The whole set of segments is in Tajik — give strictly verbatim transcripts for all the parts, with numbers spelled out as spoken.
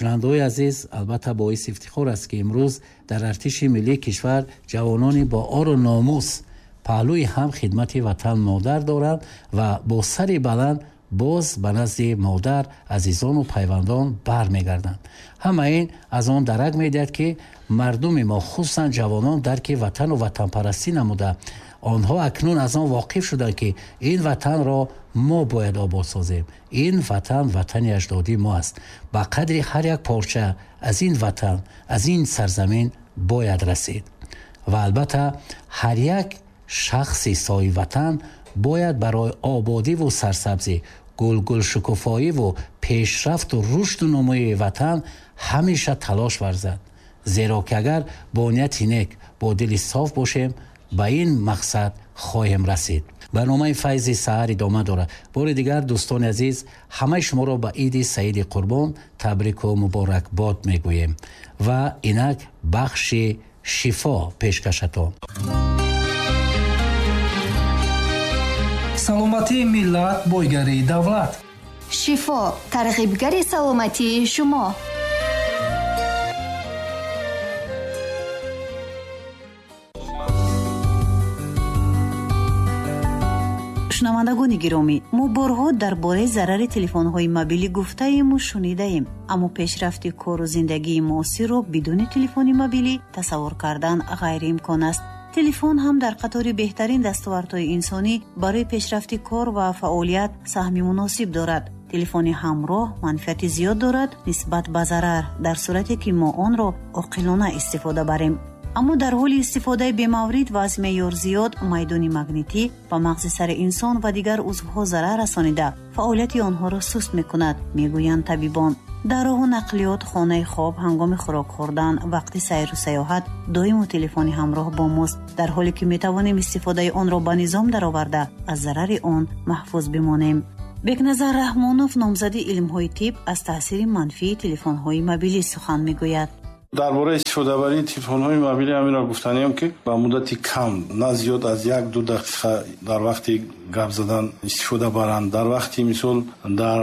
Шунавандаҳои азиз, албатта боиси ифтихор аст, ки имрӯз дар артиши миллии кишвар ҷавонони бо ору номус паҳлӯи ҳам хидмати ватан модар доранд ва бо сари баланд боз ба назди модар, азизону пайвандон бармегарданд. Ҳама ин аз он дарак медиҳад, ки мардуми мо, хусусан ҷавонон, дарки ватану ватанпарастӣ намуда, онҳо акнун аз он воқиф шуданд, ки ин ватанро мо бояд обод созем. Ин ватан ватани аҷдодии мо аст. Ба қадри ҳар як порча аз ин ватан, аз ин сарзамин бояд расид. Ва албатта ҳар як шахси соҳиби ватан бояд барои ободиву сарсабзӣ, гулгулшукуфоиву пешрафту рушду нумӯи ватан ҳамеша талош варзад. Зеро ки агар бо нияти нек, бо дили соф бошем, ба ин мақсад хоҳем расид. Барномаи Файзи саҳар идома дорад. Бори дигар, дӯстони азиз, ҳамаи шуморо ба Иди Саиди Қурбон табрику муборакбод мегӯем ва инак бахши шифо пешкашатон. Саломатии миллат бойгарии давлат. Шифо тарғибгари саломатии шумо. Шунавандагони гиромӣ, мо борҳо дар бораи зарари телефонҳои мобилӣ гуфтаему шунидаем, аммо пешрафти кору зиндагии муосирро бидуни телефони мобилӣ тасаввур кардан ғайриимкон аст. Телефон ҳам дар қатори беҳтарин дастовардҳои инсонӣ барои пешрафти кор ва фаъолият саҳми муносиб дорад. Телефони ҳамроҳ манфиати зиёд дорад нисбат ба зарар, дар сурате ки мо онро оқилона истифода барем. Аммо дар ҳоли истифодаи бемаврид ва аз меъёр зиёд майдони магнитӣ ба мағзи сари инсон ва дигар узвҳо зарар расонида, фаъолияти онҳоро суст мекунад, мегӯянд табибон. Дар роҳу нақлиёт, хонаи хоб, ҳангоми хӯрок хӯрдан, вақти сайру саёҳат доимо телефони ҳамроҳ бо мост, дар ҳоле ки метавонем истифодаи онро ба низом дароварда, аз зарари он маҳфуз бимонем. Бекназар Раҳмонов, номзади илмҳои тиб, аз таъсири манфии телефонҳои мобилӣ сухан мегӯяд. Дар бораи истифодабарии телефонҳои мобилӣ ҳаминро гуфтаниям, ки ба муддати кам, на зиёд аз як-ду дақиқа дар вақти гап задан истифода баранд. Дар вақти мисол дар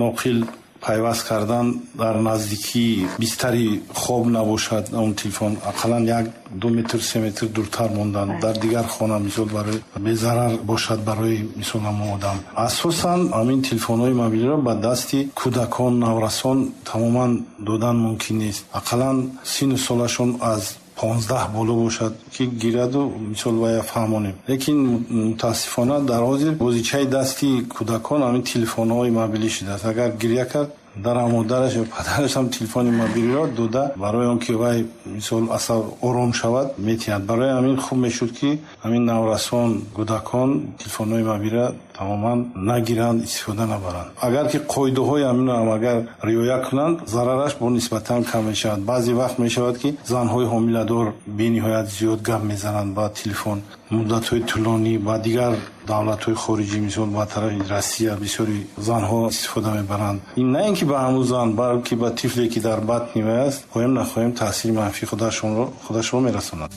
ноқил пайваст кардан дар наздикии бистари хоб набошад, он телефон ақаллан як ду метр, се метр дуртар мондан, дар дигар хона мисол барои безарар бошад барои мисол ҳамон одам. Асосан ҳамин телефонҳои мобилиро ба дасти кӯдакон, наврасон тамоман додан мумкин нест. Ақаллан сину солашон аз понздаҳ боло бошад, ки гираду мисол вая фаҳмонем. Лекин мутаассифона дар ҳозир бозичаи дасти кӯдакон ҳамин телефонҳои мобилӣ шудааст. Агар гиря кард, дар модараш ё падараш ҳам телефони мобилиро дода, барои он ки вай мисол асаб ором шавад, метиҳад. Барои ҳамин хуб мешуд, ки ҳамин наврасон, кӯдакон телефонҳои мобилиро тамоман нагиранд, истифода набаранд. Агар ки қоидаҳои ҳаминро ҳам агар риоя кунанд, зарараш бо нисбатан кам мешавад. Баъзе вақт мешавад, ки занҳои ҳомиладор бениҳоят зиёд гап мезананд ба телефон, муддатҳои тӯлонӣ. Ба дигар давлатҳои хориҷӣ, мисол ба тарафи Россия, бисёри занҳо истифода мебаранд. Ин на ин ки ба ҳамун зан, балки ба тифле, ки дар батни вай аст, хоҳем нахоҳем таъсири манфии худашонро худашро мерасонад.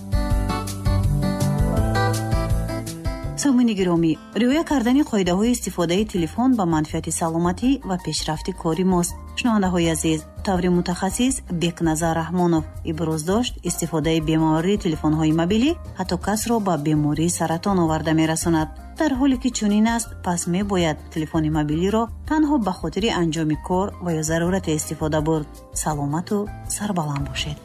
Сомини гиромӣ, риоя кардани қоидаҳои истифодаи телефон ба манфиати саломатӣ ва пешрафти кори мост. Шунавандаҳои азиз, таври мутахассис Бекназар Раҳмонов иброз дошт, истифодаи бемавриди телефонҳои мобилӣ ҳатто касро ба бемории саратон оварда мерасонад. Дар ҳоле ки чунин аст, пас мебояд телефони мобилиро танҳо ба хотири анҷоми кор ва ё зарурате истифода бурд. Саломату сарбаланд бошед.